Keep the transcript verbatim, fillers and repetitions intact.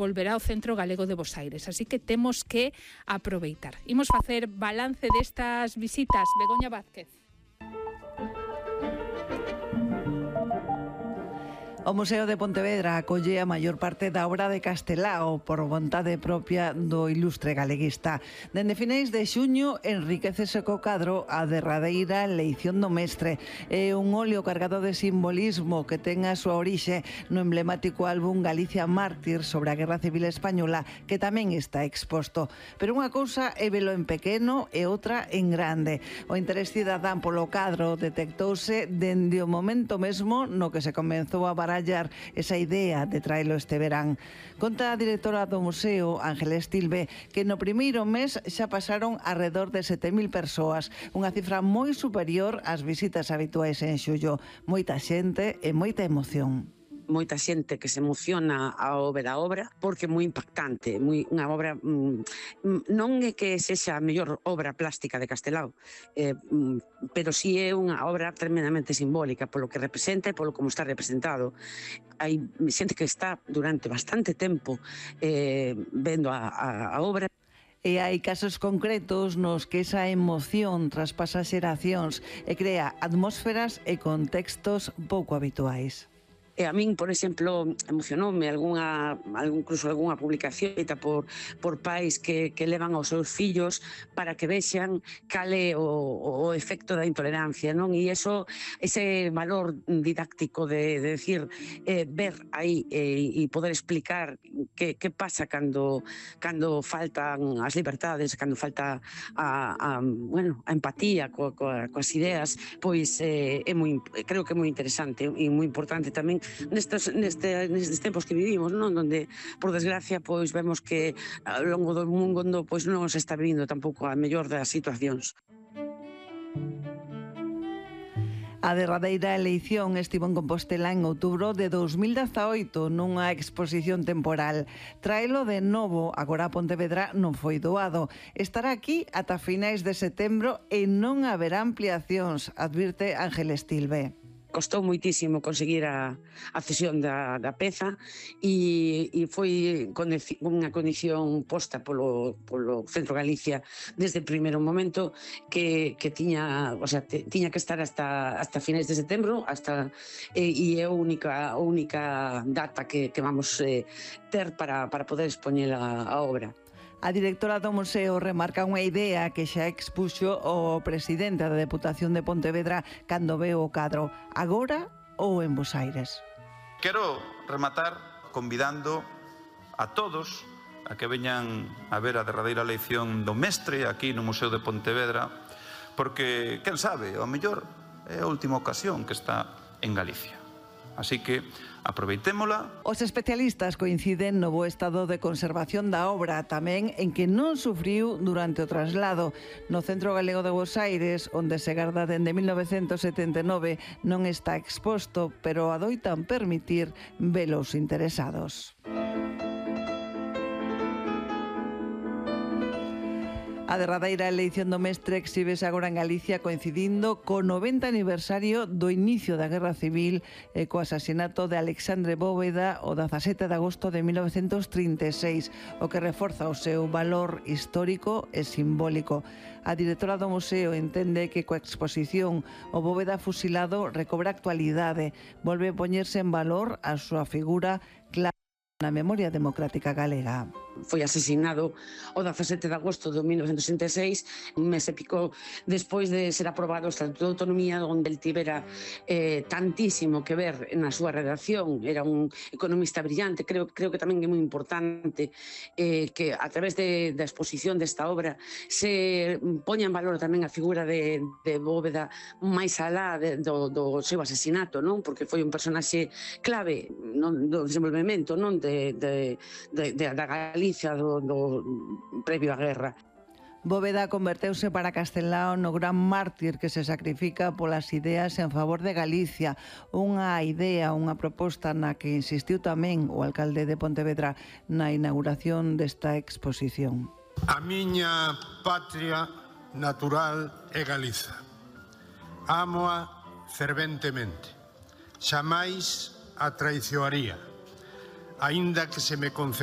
volverá ao Centro Galego de Bosaires, así que temos que aproveitar. Imos facer balance destas visitas. Begoña Vázquez. O Museo de Pontevedra acolle a maior parte da obra de Castelao por vontade propia do ilustre galeguista. Dende finais de xuño enriquecese co cadro a derradeira Leición do Mestre. É un óleo cargado de simbolismo que ten a súa orixe no emblemático álbum Galicia Mártir sobre a Guerra Civil Española, que tamén está exposto. Pero unha cousa é velo en pequeno e outra en grande. O interés cidadán polo cadro detectouse dende o momento mesmo no que se comenzou a barallar esa idea de traelo este verán. Conta a directora do museo, Ángeles Tilbe, que no primeiro mes xa pasaron alrededor de sete mil persoas, unha cifra moi superior ás visitas habituais en xullo. Moita xente e moita emoción. Moita xente que se emociona ao ver a obra porque é moi impactante, moi, unha obra mmm, non é que sexa a mellor obra plástica de Castelao, eh, pero si é unha obra tremendamente simbólica polo que representa e polo como está representado. Hai xente que está durante bastante tempo eh, vendo a, a, a obra. E hai casos concretos nos que esa emoción traspasa xeracións e crea atmósferas e contextos pouco habituais. E a min, por exemplo, emocionoume algunha, incluso algunha publicación feita por, por pais que, que levan aos seus fillos para que vexan cal é o, o efecto da intolerancia, non? E iso, ese valor didáctico de, de decir, eh, ver aí eh, e poder explicar que, que pasa cando, cando faltan as libertades, cando falta a, a, bueno, a empatía co, co, coas ideas, pois eh, é moi, creo que é moi interesante e moi importante tamén Nestes, neste, nestes tempos que vivimos, non? Donde, por desgracia, pois vemos que ao longo do mundo pois non se está vivindo tampouco a mellor das situacións. A derradeira eleición estivo en Compostela en outubro de dos mil dezaoito nunha exposición temporal. Traelo de novo agora a Pontevedra non foi doado. Estará aquí ata finais de setembro e non haberá ampliacións, advirte Ángeles Tilbe. Costou moitísimo conseguir a, a cesión da, da peza e, e foi unha condición posta polo, polo Centro Galicia desde o primeiro momento que, que tiña, o sea, te, tiña que estar hasta, hasta finais de setembro hasta, e, e é a única, a única data que, que vamos eh, ter para, para poder expoñer a, a obra. A directora do museo remarca unha idea que xa expuxo o presidente da Deputación de Pontevedra cando veo o cadro, agora ou en Bosaires. Quero rematar convidando a todos a que veñan a ver a derradeira lección do mestre aquí no Museo de Pontevedra, porque, quen sabe, ao mellor é a última ocasión que está en Galicia. Así que aproveitémola. Os especialistas coinciden no bo estado de conservación da obra, tamén en que non sufriu durante o traslado. No Centro Galego de Bosaires, onde se garda dende mil novecentos setenta e nove, non está exposto, pero adoitan permitir velos interesados. A derradeira eleición do mestre exhíbese agora en Galicia coincidindo co noventa aniversario do inicio da Guerra Civil e co asasinato de Alexandre Bóveda o dezasete de agosto de mil novecentos trinta e seis, o que reforza o seu valor histórico e simbólico. A directora do museo entende que coa exposición o Bóveda fusilado recobra actualidade, volve a poñerse en valor a súa figura clara na memoria democrática galega. Foi asesinado o dezasete de agosto de mil novecentos sesenta e seis, un mes e pico despois de ser aprobado o Estatuto de Autonomía, onde el tivera eh, tantísimo que ver na súa redacción. Era un economista brillante. Creo, creo que tamén é moi importante eh, que a través de, da exposición desta obra se poña en valor tamén a figura de, de Bóveda máis alá de, do, do seu asesinato, non? Porque foi un personaxe clave non, do desenvolvemento non de, de, de, de, da Galicia do, do previo á guerra. Bóveda converteuse para Castelao no gran mártir que se sacrifica polas ideas en favor de Galicia, unha idea, unha proposta na que insistiu tamén o alcalde de Pontevedra na inauguración desta exposición. A miña patria natural é Galiza. Ámoa ferventemente. Xamais a traizoaría, aínda que se me conceda